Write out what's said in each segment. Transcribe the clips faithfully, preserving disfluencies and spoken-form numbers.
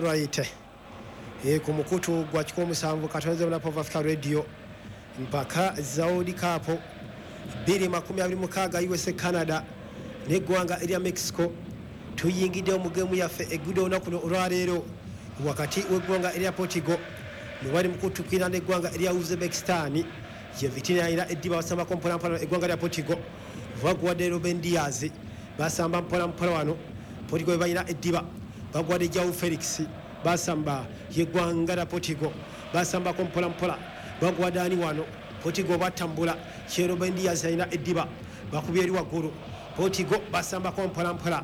Alright, e, ku mukutu gwa kikumi musanvu katonze Mulapo of Africa Radio, mpaka za World Cup bbiri makumi abiri mukaaga, U S A, Canada n'eggwanga erya Mexico. Tuyingiddewo mu geemu yaffe egudde olunaku luno olwaleero wakati w'eggwanga erya Portugal ne bali mu kutukira n'eggwanga erya Uzbekistan. Ye Vitina alina eddiba, basambako mpolampola. Eggwanga lya Portugal baguwadde Ruben Dias, basamba mpolampola wano. Portugal balina eddiba, baguwadde Joao Felix, basamba. Yeggwanga lya Portugal basambako mpolampola, baguwadde ani wano? Portugal batambula. Kye Ruben Dias alina eddiba, bakubye eri waggulu. Portugal basambako mpolampola,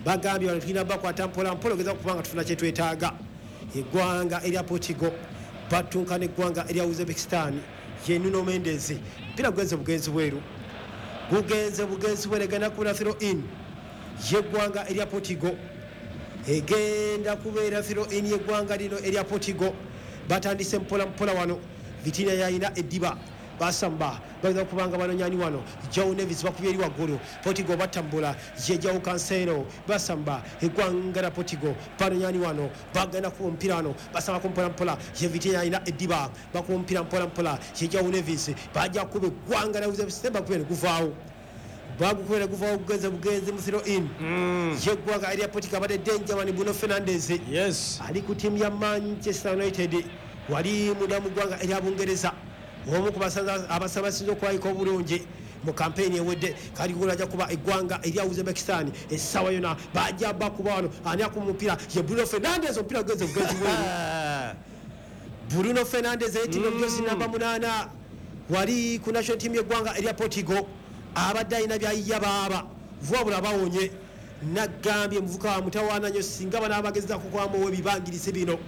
bagambye bano tulina bakwata mpolampola ogeza kubanga tufuna kyetwetaaga. Eggwanga erya Portugal batunka neggwanga erya Uzbekistan. Ye Nuno Mendes, mpira gugenze bugenzi bweru, gugenze bugenzi bweru, egenda kubeera throw in yeggwanga erya Portugal, egenda kubeera throw in yeggwanga lino erya Portugal. Batandise mpola mpola wano. Vitina yalina eddiba, basamba, bagenda kubanga banonyani wano? Joao Neves, bakubye eri waggulu. Portugal batambula. Ye Joao Cancelo, basamba. Eggwanga lya Portugal banonyani wano? Bagenda kuba omupiira wano, basambako mpola mpola. Ye Vitina yalina eddiba, bakuba omupiira mpola mpola. Ye Joao Neves, bajja kuba eggwanga lya Uzbekistan, bakubye ne guvaawo, bagukubira guvaawo, gugenze bugenzi mu throw in yeggwanga erya Portugal. Abadde danger man Bruno Fernandes Yes. ali ku ttiimu ya Manchester United, wali munda mu ggwanga erya Bungereza, omu ku basanza abasinze okulabika obulungi mu kampeyini ewedde. Kali gula ajja kuba eggwanga erya Uzbekistan essaawa yona, bajja bakuba wano. Ani akuba omupiira? Ye Bruno Fernandes, omupiira gugenze bugenzi bweru. Bruno Fernandes eyetimbye omujozi namba munaana wali ku national team y'eggwanga erya Portugal, abadde alina byayiya baaba wabula bawonye. Nagambye muvuka wa mutawaana nnyo, singa banaabagezako kwamuwa ebibangirizi bino.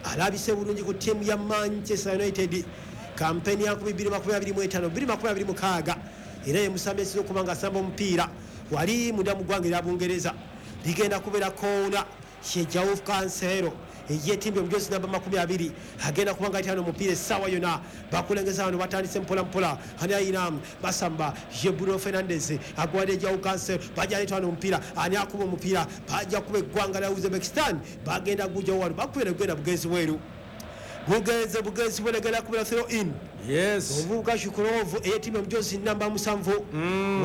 Alabise bulungi ku ttiimu ya Manchester United kampeni ya nkumi bbiri makumi abiri mu ttaano bbiri makumi abiri mu mukaaga, era ye musambi esinza okuba nga asamba omupiira wali munda mu ggwanga erya Bungereza. Ligenda kubeera koona. Ye Joao Cancelo eyetimbye omujozi namba makumi abiri, agenda kuba nga ayitano omupiira essaawa yonna. Bakulengeza wano, batandise mpola mpola. Ani ayina? Basamba. Ye Bruno Fernandes agwadde Joao Cancelo, bajja aleeta wano omupiira. Ani akuba omupiira? Bajja kuba eggwanga lya Uzbekistan, bagenda gujja wano, bakubira, gugenda bugenzi bweru, gugenze bugenzi bweru, egenda kubeera throw in. Yes. Omuvubuka Shukurov eyetimbye omujozi namba musanvu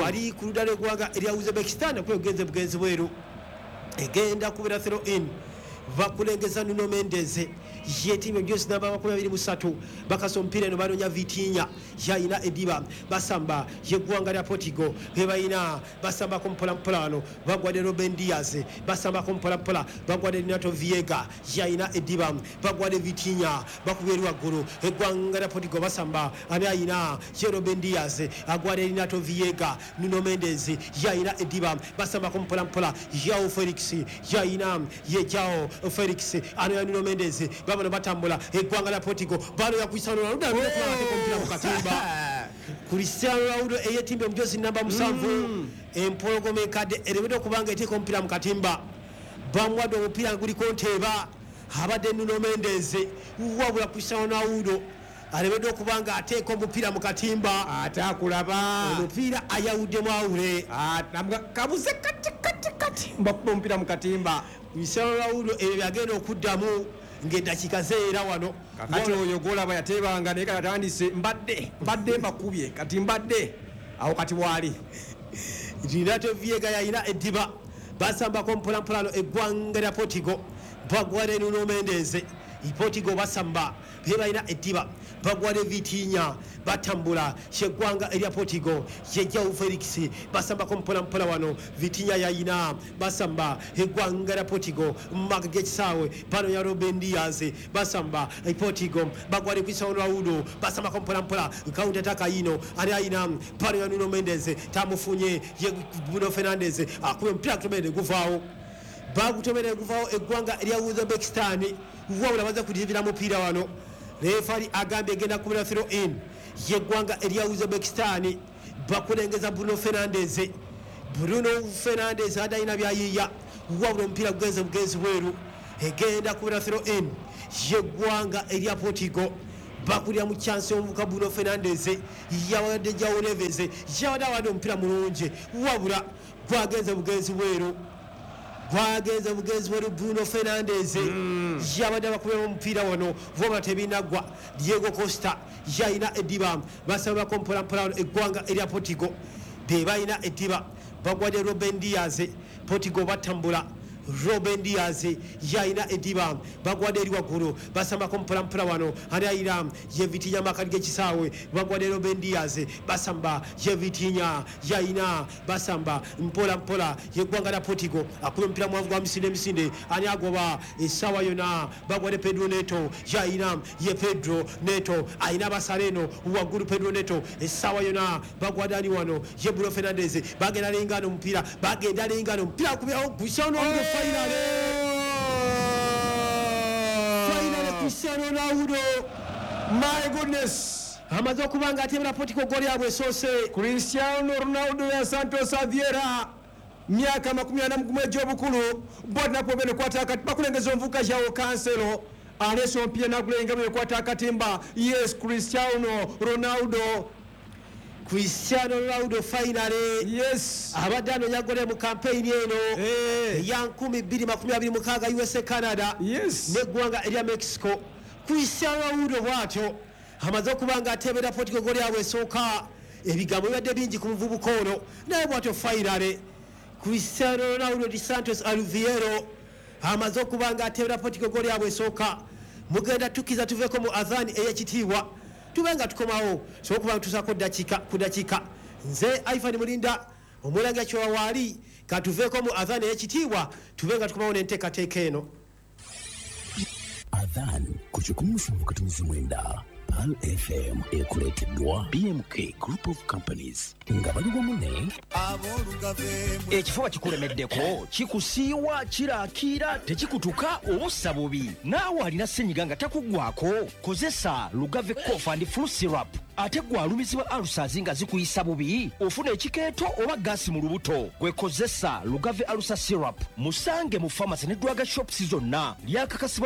wali ku ludda lw'eggwanga erya Uzbekistan, akuba, gugenze bugenzi bweru, egenda kubeera throw in. Bakulengeza Nuno Mendes yetimbye omujozi namba makumi abiri mu ssatu, bakasa omupiira eno, banoonya Vitinha, yayina ediba, basamba. Yeggwanga lya Portugal bebalina, basambako mpolampola wano, bagwadde Ruben Dias, basambako mpolampola, bagwadde Renato Veiga, yayina ediba, bagwadde Vitinha, bakubye eri waggulu. Eggwanga lya Portugal basamba. Ani ayina? Ye Ruben Dias agwadde Renato Veiga. Nuno Mendes yayina ediba, basambako mpolampola. Joao Felix yayina, ye Joao Felix anoya Nuno Mendes, babano batambula. Eggwanga lya Portugal banoya Cristiano Ronaldo omupiira mu katimba. Cristiano Ronaldo eyetimbye omujozi namba musanvu, empologoma enkadde eremedde okubanga eteeka omupiira mu katimba. Bamuwadde omupiira nga guliko nteeba, abadde Nuno Mendes, wabula Cristiano Ronaldo alemedde okuba nga ateeka omupiira mu katimba. Ate akulaba. Omupiira ayawuddemu awule. Ah, namuga- kabuze kati kati kati mbakuba omupiira mu katimba. Cristiano Ronaldo ebyo byagenda okuddamu ng'eddakiika zeera wano. Kakati oyo gwolaba yateebanga, naye kati atandise, mbadde mbadde mbakubye, kati mbadde awo, kati waali. Renato Veiga yalina eddiba, basambako mpolampola no eggwanga lya Portugal, bagwale Nuno Mendes. Portugal basamba, be balina eddiba, bagwale Vitinha, batambula. Kyeggwanga erya Portugal, ye Joao Felix, basambako mpolampola wano. Vitinha yayina, basamba. Eggwanga lya Portugal mumaka g'ekisaawe bano ya Ruben Dias, basamba. Portugal bagwale Cristiano Ronaldo, basambako mpolampola. Counter attack yino, ani ayina? Bano ya Nuno Mendes, tamufunye. Ye Bruno Fernandes akuba omupiira, kutomere guvaawo, bagutomere guvaawo. Eggwanga erya Uzbekistan wabula baza kudibira mupiira wano. Refari agambye egenda kubira throw in yeggwanga erya Uzbekistan. Bakulengeza Bruno Fernandes. Bruno Fernandes adalina byayiya, wabula omupiira gugenze bugenzi bweru, egenda kubira throw in yeggwanga erya Portugal. Bakulira mu chance omuvuka Bruno Fernandes, yawadde Joao Neves, yawadde awadde omupiira mulungi, wabula gwagenze bugenzi bweru. Gwagenze bugenzi wali Bruno Fernandes yabadde abakubira omupiira wano voma tebinaggwa. Diego Costa yalina eddiba, basabako mpolampola wano eggwanga erya Portugal be balina eddiba, bagwadde Ruben Dias. Portugal batambula, Ruben Dias yalina eddiba, bagwadde eri waggulu, basambako mpolampola wano. Ani ayina? Ye Vitinha, makati g'ekisaawe, bagwadde Ruben Dias, basamba, ye Vitinha yalina, basamba mpola mpola. Yeggwanga lya Portugal akuba omupiira mwanvu gwa misinde misinde. Ani agoba essaawa yonna? Bagwadde Pedro Neto, yalina, ye Pedro Neto ayina basala eno waggulu. Pedro Neto essaawa yonna bagwadde ani wano? Ye Bruno Fernandes. Bagenda lengana omupiira, bagenda lengana omupiira, akubirawo Cristiano Ronaldo. Finally, finally Cristiano Ronaldo. My goodness. Amaze okuba nga atebera Portugal goli yabwe esoose. Cristiano Ronaldo ya Santos Aveiro, myaka makumi ana mu gumu egy'obukulu, botnapo benekwata akati bakulengeza omuvuka João Cancelo aleese omupiira nagulenga benekwata akatimba. Yes, Cristiano Ronaldo. Cristiano Ronaldo finally. Yes. Abadde anoonya gole mu kampeyini eno Eh. eya nkumi bbiri makumi abiri mu mukaaga U S A Canada Yes. n'eggwanga erya Mexico. Cristiano Ronaldo bw'atyo amaze okuba nga atebera Portugal goli yabwe esooka. Ebigambo bibadde bingi ku muvubuka ono, naye bw'atyo finally Cristiano Ronaldo de Santos Alviero amaze okuba nga atebera Portugal goli yabwe esooka. Mugenda tukiza tuveeko mu adhan ey'ekitiibwa, tube nga tukomawo sobola okuba nga tusaako dakiika ku dakiika. Nze Ivan Mulinda omulangira kyowa waali, katuveeko mu adhan ey'ekitiibwa, tube nga tukomawo n'enteekateeka eno. Adhan ku kikumi musanvu katonzi mwenda Pearl F M ekuleeteddwa B M K Group of Companies nga bali wamu ne Ekifuba kikulemeddeko, kikusiiwa, kiraakiira, tekikutuka oba ossa bubi. Naawe alina ssenyiga nga takuggwako, kozesa Lugave Cough and Flu Syrup. Ate gwe alumizibwa ulcers nga zikuyisa bubi, ofuna ekikeeto oba gaasi mu lubuto, gwe kozesa Lugave Ulcer Syrup. Musange mu famasi ne drug shops zonna, lyakakasibwa.